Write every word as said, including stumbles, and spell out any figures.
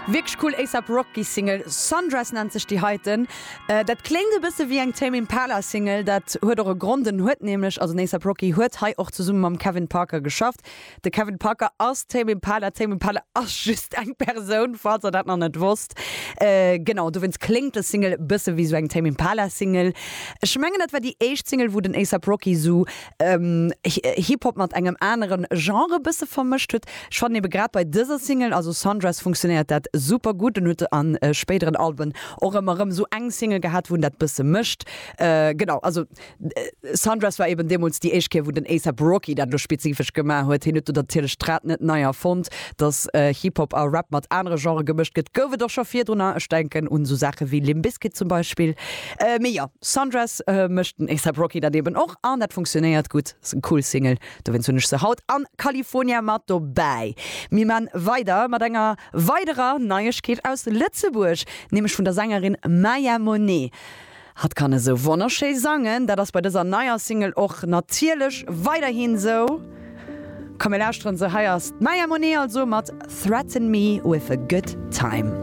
Wierklech cool A$AP Rocky Single. Sundress nennt sech déi heiten. Dat kléngt e bësse wéi eng Tame Impala Single. Dat huet och e Grond, en huet nämlech, also den A$AP Rocky huet hei och zesumme mam Kevin Parker geschafft. De Kevin Parker ass Tame Impala. Tame Impala ass just eng Persoun, falls der dat nach net wosst. Genau, dowéinst kléngt dës Single e bësse wéi sou eng Tame Impala Single. Ech mengen dat war déi éischt Single wou den A$AP Rocky sou Hip-Hop mat engem anere Genre e bësse vermëscht huet. Ech fannen ebe grad bei dëser Single, also Sundress, funktionéiert dat super gutt. En huet an spéideren Alben och ëmmer erëm sou eng Single gehat, wou en dat bësse mécht. Genau, also Sundress war eben deemools déi éischt Kéier, wou den A$AP Rocky dat elo spezifesch gemaach huet. Hien huet do natierlech d'Rad net nei erfonnt. Dass Hip-Hop a Rap mat anere Genrë gemëscht gëtt, gouf et och scho virdrunner. Ech denken un sou Saache wéi Limp Bizkit zum Beispill. Mee jo, Sundress mécht den A$AP Rocky dat eben och an dat funktionéiert gutt. Ass eng cool Single, dowéinst hunn ech se haut an California mat dobäi. Mir man weider mat enger weiderer Neiegkeet aus Lëtzebuerg, nämlech vun der Sängerin Maya Monet. Hatt kann esou wonnerschéi sangen, dat ass bei dëser neier Single och natierlech weiderhin esou. Komm mir lauschteren se, hei ass d'Maya Monet also mat Threaten Me With A Good Time.